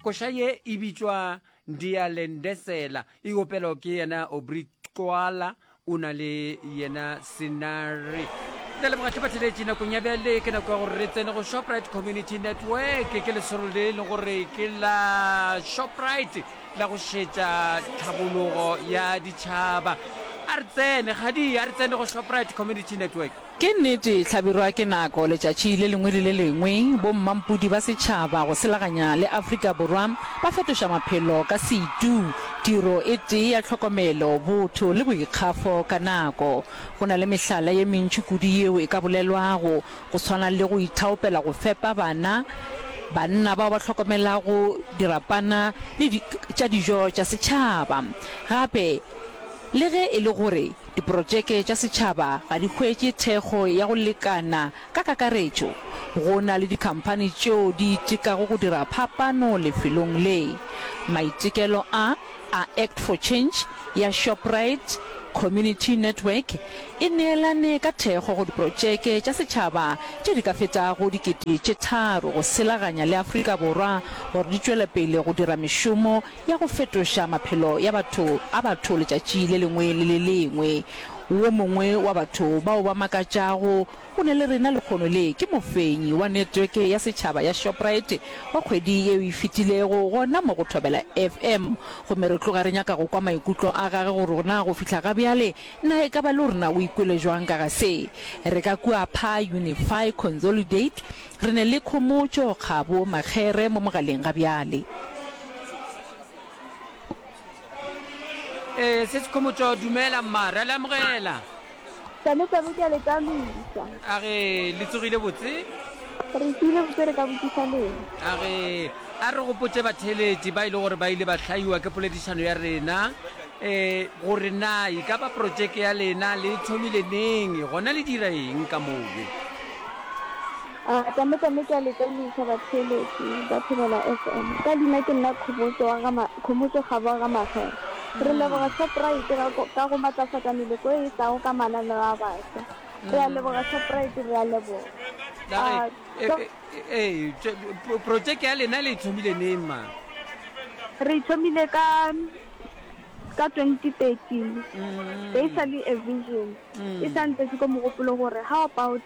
Koša ye e bitšwa Ndiyalendesela, e opelwa ke yena Aubrey Twala, o na le yena Senare. Re leboga hle batheletši nakong ya bjale ke nako ya gore re tsene go Shoprite Community Network. Ke lesolo le e leng gore ke la Shoprite la go šetša tlhabologo ya ditšhaba. A re tsene, kgadi, a re tsene go Shoprite Community Network. Ke nnete, Hlabirwa ke nako, letšatši le lengwe le le lengwe, bommampodi ba setšhaba go selaganya le Afrika Borwa ba fetoša maphelo ka setu, tiro e tee ya tlhokomelo, botho le boikgafo ka nako. Go na le mehlala ye mentši kudu yeo e ka bolelwago, go swana le go ithaopela go fepa bana, banna bao ba hlokomelago dirapana le tša dijo tša setšhaba. Gape, le ge e le gore Diprotšeke tša setšhaba ga di hwetše thekgo ya go lekana ka kakaretšo. Go na le dikhamphani tšeo di itekago go dira phapano lefelong le. Maitekelo a a Act for Change ya Shoprite Community Network e neelane ka thekgo go diprotšeke tša setšhaba tše di ka fetago 3000 go selaganya le Afrika Borwa gore di tšwele pele go dira mešomo ya go fetoša maphelo ya batho a batho letšatši le lengwe le le lengwe. Wo mongwe wa batho bao ba makatšago o ne le rena lekgono le ke mofenyi wa netweke ya setšhaba ya Shoprite wa kgwedi yeo e fetilego gona mo go Thobela FM. Gomme re tloga re nyaka go kwa maikutlo a gage gore na go fihla ga bjale na e ka ba le gore na o ikwele jwang ka ga se. Re ka kua Pha Unify Consolidate Re ne le Khomotšo Kgabo Makgere mo mogaleng ga bjale. Ee, Sesi Khomotšo, dumela mma, re a le amogela. Tame tame ke a le tamisa. A re le tsogile botse? Re tsogile botse re ka botšiša lena. A re a re gopotše batheeletši ba e le gore ba ile ba hlaiwa ke poledišano ya rena um gore na e ka ba projeke ya lena le e thomile neng gona le dira eng ka mowe. A tame tame ke a le tamiša batheeletši ba Thobela FM. Ka leina ke nna Khomotšo wa ga Khomotšo Kgabo wa ga Makgere. Re leboga Shoprite ka ka go matlafatša meloko e e tlago ka mananeo a baswa. Re a leboga Shoprite, re a leboga. A Ee, projeke ya lena le e thomile neng ma? Re e thomile ka ka 2013. Be e sa le a vision. E sa ntletše ko mogopolo gore how about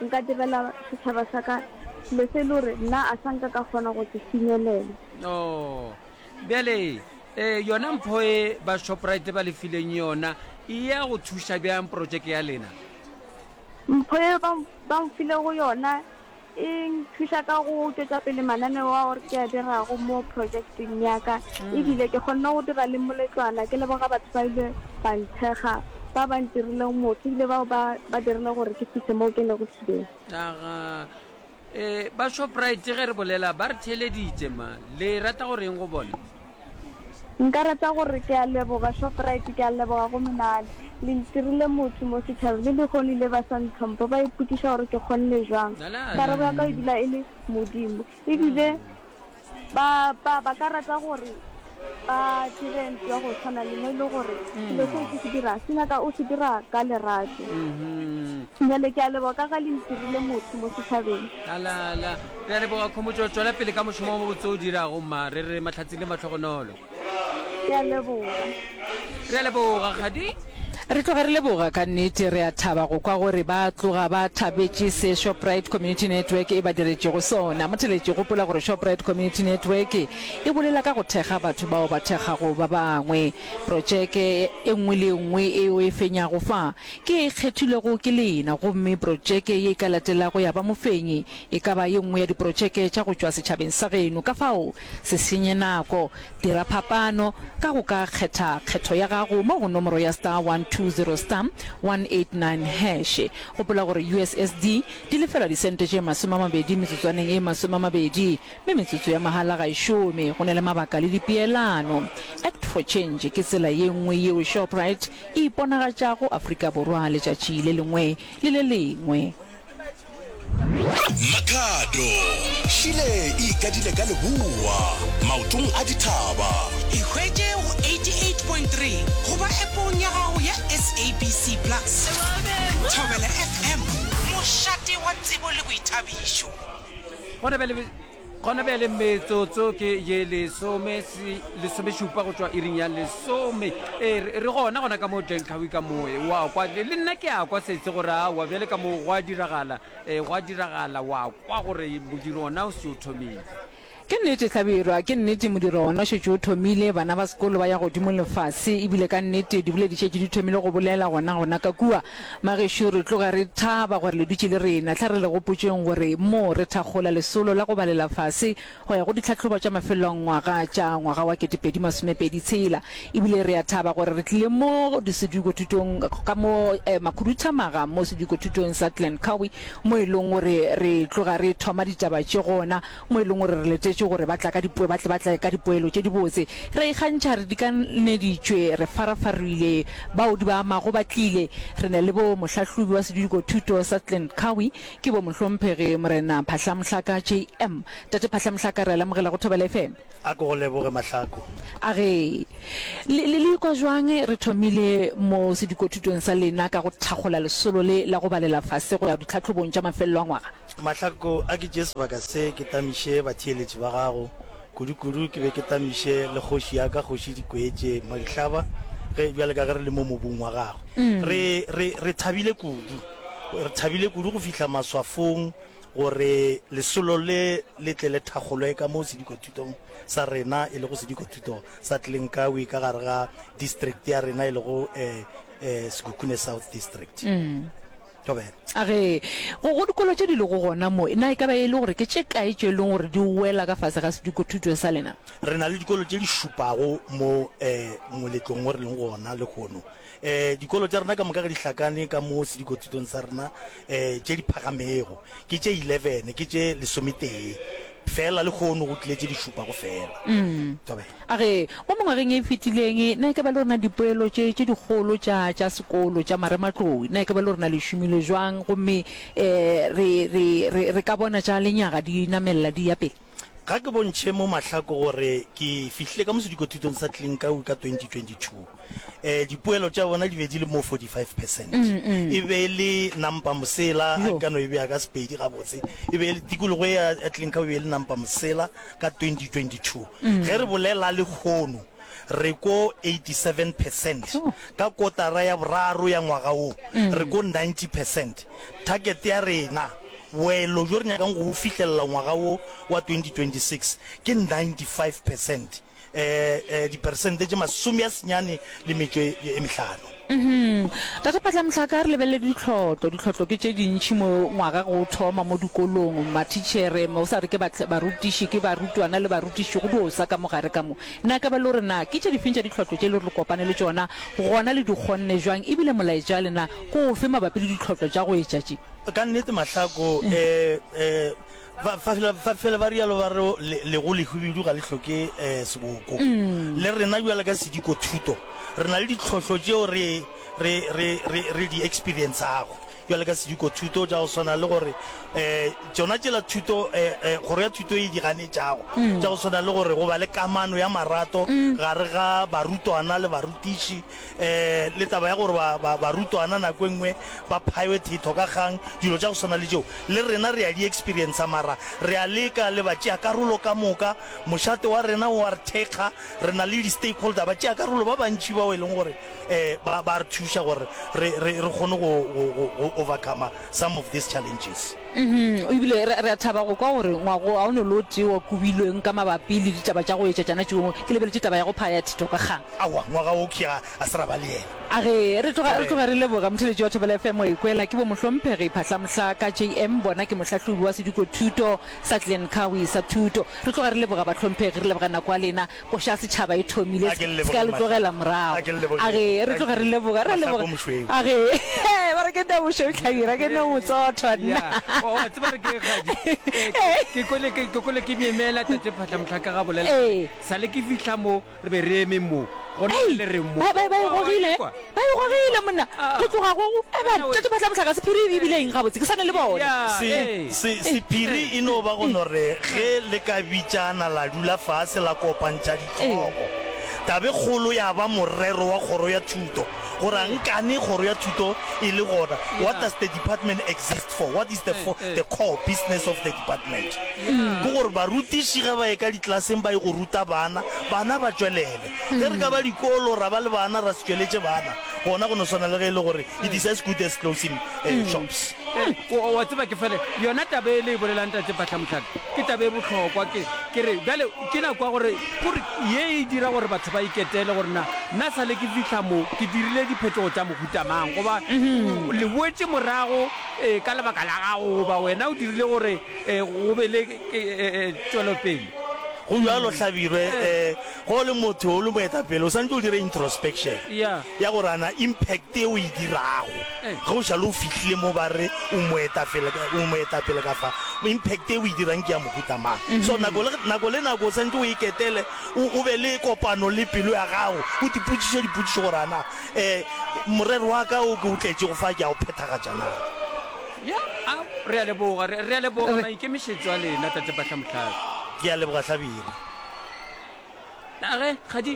Nka direla setšhaba sa ka selo se e le gore nna a sa nka ka kgona go se finyelela. Oh, bjale eh, yona mpho e ba Shoprite ba le fileng yona e ya go thuša bjang projeke ya lena? Mpho ye ba, ba mfilego yona e nthuša ka go tšwetša pele mananeo ao ke a dirago mo projekteng ya ka. Ebile ke kgonne go dira le moletlwana, ke leboga batho ba ile ba nthekga. Ba ba ntirilego motho ebile bao ba ba dirile gore ke fihle moo ke lego today. Aga, e, ba Shoprite ge re bolela ba re theeleditše ma, le rata go reng go bona? Nka rata gore ke a leboga Shoprite, ke a leboga go menagano. Le ntirile motho mo setšhabeng, le lehono ile ba sa ntlhompha, ba ipotšiša gore ke kgonne jwang. Karabo ya ka e dula e le Modimo. Ebile Ba, ba, ba ka rata gore ba dire ntho ya go tshwana le mo e le gore selo seo ke se dira se nyaka o se dira ka lerato. Bjale ke a leboga ka ga le ntirile motho mo setšhabeng. Alala. Re a leboga Khomotšo, tšwela pele ka mošomo o mobotse o dirago mma. Re re mahlatsi le mahlogonolo. Ke a leboga. Re a leboga, Kgadi. Re tloga re leboga ka nnete. Re a thaba go kwa gore ba tloga ba thabetše se Shoprite Community Network e ba diretšego sona. Motheletši, gopola gore Shoprite Community Network e bolela ka go thekga batho bao ba thekgago ba bangwe. Protšeke e nngwe le e nngwe e o e fenyago fa ke ye e kgethilwego ke lena, gomme protšeke ye e ka latelago ya ba mofenyi e ka ba ye nngwe ya diprotšeke tša go tšwa setšhabeng sa geno. Ka fao, Se senye nako, dira phapano ka go ka kgetha kgetho ya gago mo go nomoro ya star 120 star 189 hash. Gopola gore USSD di lefelwa disente tše 20 metsotswaneng e 20, mme metsotso ya mahala ga e šome. Go na le mabaka le dipeelano. Act for Change ke tsela ye nngwe yeo Shoprite e iponagatšago Afrika Borwa letšatši le lengwe le le lengwe. Makhado, Šile e ikadile ka leboa, maotong a dithaba. Ikhwetše go 88.3 goba appong ya gago ya SABC Plus. Thobela FM, mošate wa tsebo le boithabišo. Gona bjale. Gona bjale metsotso ke ye lesomešupa go tšwa iring ya lesome. Ee, re gona gona ka mo Glencoe ka mo. Wa kwa, le nna ke a kwa setse gore aowa bjale ka mo gwa diragala, gwa diragala, wa kwa gore modiro ona o se o thomile. Ke nnete, Hlabirwa, ke nnete, modiro wona o šetše o thomile, bana ba sekolo ba ya godimo le fase, ebile ka nnete diboledi šetše di thomile go bolela gona gona ka kua. Magešo, re tloga re thaba gore le dutše le rena. Hla re le gopotšeng gore mo re thakgola lesolo la go balela fase go ya go ditlhahlobo tša mafelelo a ngwaga tša ngwaga wa 2026. Ebile re a thaba gore re tlile mo sedikothutong ka mo makhuduthamaga mo sedikothutong sa Glen Cowie mo e leng gore re tloga re thoma ditaba tše gona. mo e leng gore re letetše gore ba tla ka dipoe, ba tle ba tle ka dipoelo tše dibotse. Re a ikgantšha, re dikaneditšwe, re farafarile, bao di ba amago ba tlile. Re na le bo mohlahlobi wa sedikothuto sa Glen Cowie, ke bo Mohlomphegi Morena Phahla Mohlaka JM. Tate Phahla Mohlaka, re a le amogela go Thobela FM. A ke go leboge Mahlako. A ge, le, le, le ikwa jwang re thomile mo sedikothutong sa lena ka go thakgola lesolo le la go balela fase go ya ditlhahlobong tša mafelelo a ngwaga? Mahlako, a ke tšee sebaka se ke tamiše batheeletši ba gago, kudu-kudu ke be ke tamiše le kgoši ya ka, Kgoši Dikweetše Madihlaba, ge bjale ka ge re le mo mobung wa gagwe. Re, re, re thabile kudu, re thabile kudu go fihla maswafong gore lesolo le le tle le thakgolwe ka mo sedikothutong sa rena, e lego sedikothuto sa Tlenkawi ka gare ga district ya rena e lego eh, eh, Sekhukhune South District. Thobela. A re, Go, go dikolo tše di lego gona mo, na e ka ba e le gore ke tše kae tše e leng gore di wela ka fase ga sedikothuto sa lena? Re na le dikolo tše di šupago mo moletlong wo re leng go ona lehono. Dikolo tša rena ka moka ge di hlakane ka mo sedikothutong sa rena, tše di phagamego ke tše 11, ke tše lesometee feela, lehono go tlile tše di šupago feela. Thobela. A re, Mo mengwageng e fetileng, na e ka ba le rena dipoelo tše tše dikgolo tša, tša sekolo tša marematlou, na e ka ba le rena le šomile bjang gomme re, re, re, re ka bona tša lenyaga di namelela di ya pele? Ga ke bontšhe mo mahlako gore ke fihlile ka mo sedikothutong sa Klinkawi ka 2022. Dipoelo tša bona di be di le mo 45 percent. E be e le nampa mosela, a ke ka no e bea ka Sepedi gabotse, e be e le tikologo e ya Klinkawi e be e le nampa mosela ka 2022. Ge re bolela lehono re ko 87 percent, ka kotara ya boraro ya ngwaga wo re ko 90 percent. Target ya rena, boelo bjo re nyakang go bo fihlelela ngwaga wo wa 2026 ke 95 percent. Diperesente tše masomeasenyane le metšo e mehlano. Tate Phatlamohlaka, re lebelele ditlhotlo. Ditlhotlo ke tše dintši mo ngwaga ge o thoma mo dikolong. Mathitšhere, o sa re ke barutiši, ke barutwana le barutiši, go dio sa ka mo gare ka mo. Na ka ba le gore na ke tše difeng tša ditlhotlo tše le gore le kopane le tšona, gona le di kgonne bjang, ebile molaetša wa lena ke ofe mabapi le ditlhotlo tša go etša tše? Ka nnete Mahlako, Ba, fa fela, fa fela ba rialo ba re le, lego lehubedu ga le hloke eh, seboko. Le rena bjale ka sediko thuto, re na le ditlhohlo tšeo re, re, re, re, re di experiencago bjale ka sediko thuto tša go swana le gore eh, tšona tšela thuto eh, eh, kgoro ya thuto e di ganetšago tša go swana le gore go ba le kamano ya marato gare ga barutwana le barutiši um le taba ya gore ba, ba, barutwana nako e nngwe ba phaiwe thetho ka kgang, dilo tša go swana le tšeo, le rena re a di experiencer, mara re a leka le batšeakarolo ka moka, mošate wa rena o a re thekga, re na le di-stakeholder, batšeakarolo ba bantši bao e leng gore um ba, ba re thuša gore re, re, re kgone go, go, go, go overcomer some of these challenges. Mhm, ebile re, re a thaba go kwa gore ngwago ga o no le o tee wa kobilweng ka mabapi le ditaba tša go etša tšana tšeo. Ke lebeletše taba ya go phaya thetho ka kgang. Aowa, ngwaga wo ke a, a se ra ba le yena. A re, re tloga, re tloga re leboga motheeletši wa Thobela FM wa ikwela ke bo Mohlomphegi Phahlamohlaka JM, bona ke mohlahlobi wa sedikothuto sa Glen Cowie sa thuto. Re tloga re leboga bahlomphegi, re leboga nako ya lena. Koša ya setšhaba e thomile, A ke le se ka lebogeng le tlogela Mahlako. morago. A ke le lebogeng. A re, re tloga re leboga, re a Mahlako leboga. mošweu. A re, ba re ke nna mošweu Hlabirwa, ke nna motsothwa nna. Ya, wa tseba re ke kgadi, ke kwele ke, ke kwele ke myemela Tate Phahlamohlaka ga bolela Ee. Sa le ke fihla mo, Re be re eme mo, gona Ei, bjale re mo. ba, ba, ba e Wa, wa gogile, ikwa? ba e gogile, monna, Ah. go tloga go, go, e ba, Wena we- Tate Phahlamohlaka, sephiri e bile eng gabotse? Ke sa na le bona. Ya, Se, ee. se, sephiri e no ba go no re ge le ka bitšana la dula fase la kopantšha dihlogo. Tabe kgolo ya ba morero wa kgoro ya thuto. Gore a nkane kgoro ya thuto e le gona, what does the department exist for? What is the, for, the core business of the department? Ke gore barutiši ge ba ye ka diklaseng ba ye go ruta bana, bana ba tšwelele. Ge re ka ba dikolo ra ba le bana ra se tšweletše bana, gona go no swana le ge e le gore it is as good as closing shops. O, wa tseba ke fele yona taba e le e bolelang Tate Phahlamohlaka ke taba e bohlokwa. Ke, ke re bjale ke nako ya gore, gore ye e dira gore batho ba iketele gore na nna sa le ke fihla mo ke dirile diphetogo tša mohuta mang, goba le boetše morago e, ka lebaka la gago, goba wena o dirile gore e, go be le e, e, e, tšwelopele. Go bjalo Hlabirwe, um ge o le motho o le moetapele o swanetše o dire introspection ya gore ana impact e o e dirago ge o šale o fihlile mo ba re o moetapele o moetapele ka fa impact e o e dirang ke ya mohuta mang. So nako le nako le nako o swanetše o iketele o o be le kopano le pelo ya gago o tipotšiše dipotšišo gore ana um morero wa ka o ke o tletšego fa ke a o phethagatša na. Ya, a re a leboga, re, re a leboga maikemišetšo a lena, Tate Phahlamohlaka. Ke a leboga Hlabirwa. A ge, Kgadi,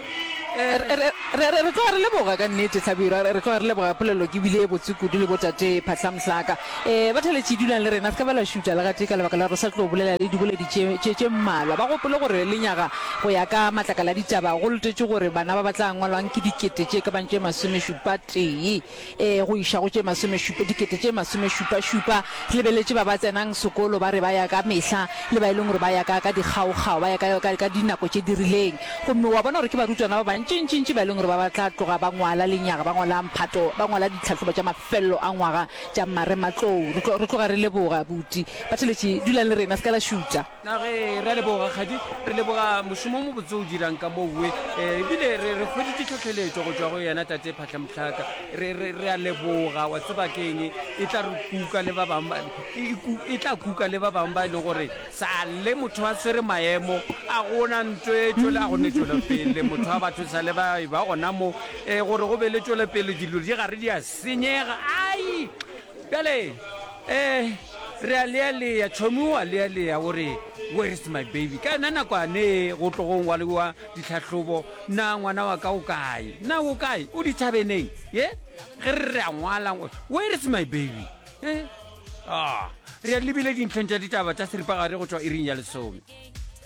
eh. Re, re, re, re, re tloga re leboga ka nnete, Hlabirwa, re, re tloga re leboga polelo ke bile e botse kudu le botate Phahlamohlaka. Eh, batheeletši dulang le rena, se ka ba la šutha le gatee ka lebaka la gore re sa tlo bolela le diboledi tše, tše, tše mmalwa. Ba gopole gore lenyaga go ya ka matlakala a ditaba go letetšwe gore bana ba ba tla ngwalwang ke dikete tše ka bang tše masomešupa tee. Ee, go iša go tše masomešupa, dikete tše masomešupašupa. Re lebeletše ba ba tsenang sekolo ba re ba ya ka mehla, le ba e leng gore ba ya ka, ka dikgaokgao, ba ya ka, ka, ka dinako tše di rileng. Gomme wa bona gore ke barutwana ba bantšintšintši ba e leng gore ba, ba tla tloga ba ngwala lenyaga, ba ngwala mphato, ba ngwala ditlhahlobo tša mafelelo a ngwaga tša marematlou. Re tlo, re tloga re leboga, buti. Batheeletši, dulang le rena, se ka la šutha. Na ge re a leboga, Kgadi. Re leboga mošomo o mobotse o dirang ka mowe. Ebile re, re hweditše tlhohleletšo go tšwa go yena Tate Phahlamohlaka. Re, re, re a leboga. Wa tseba ke eng? E tla re kuka le ba bangwe ba, e, e tla kuka le ba bangwe ba e leng gore sa le motho a swere maemo, a go na nto e tšwele, a go ne tšwelopele. Motho wa batho sa le ba e ba gona mo, e, gore go be le tšwelopele, dilo di gare di a senyega. Ai! Bjale, eh, re a lealea, tšhomi o a lealea, o re, Where is my baby? Ka yona nakwane go tlogo ngwaliwa ditlhahlobo, na ngwana wa ka o kae? Na o kae? O dithabeneng? Ye? Ge re re a ngwala, where is my baby? Eh? Ah, re a lebile dintlheng tša ditaba tša seripagare go tšwa iring ya lesome.